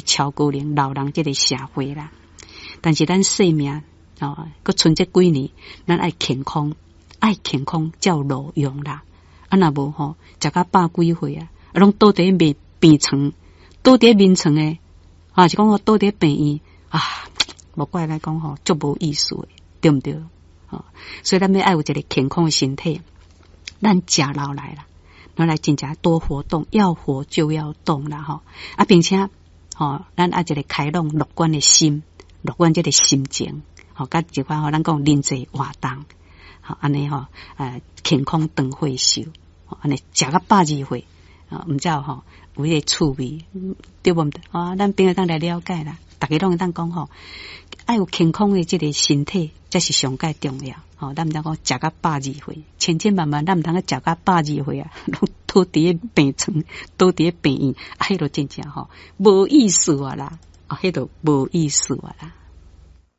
超高齡老人這个社會啦。但是咱生命哦，閣賰這幾年，咱愛健康，愛健康才有路用啦。啊，若無吼，食甲百幾歲啊，啊，攏倒佇咧病床，倒佇咧眠床的，啊，是講我倒佇咧病院啊，無怪來講吼，足無意思的，對毋對？吼，所以咱欲愛有一个健康的身體，咱食落來啦，咱來真正多活動，要活就要動啦，吼啊，並且吼，咱愛一个開朗樂觀的心，樂觀這个心情，吼，佮一款吼，咱講人際活動，吼，按呢吼，健康長歲壽，按呢食甲百二歲，啊，毋才有吼有彼个趣味，對無毋對？啊，咱朋友當來了解啦，逐家攏會當講吼，愛有健康的這个身體，才是上蓋重要。吼，咱毋通講食甲百二歲，千千萬萬，咱毋通去食甲百二歲啊，攏倒佇咧病床，倒佇咧病院，啊，彼就真正吼無意思啊啦，啊，彼就無意思啊啦。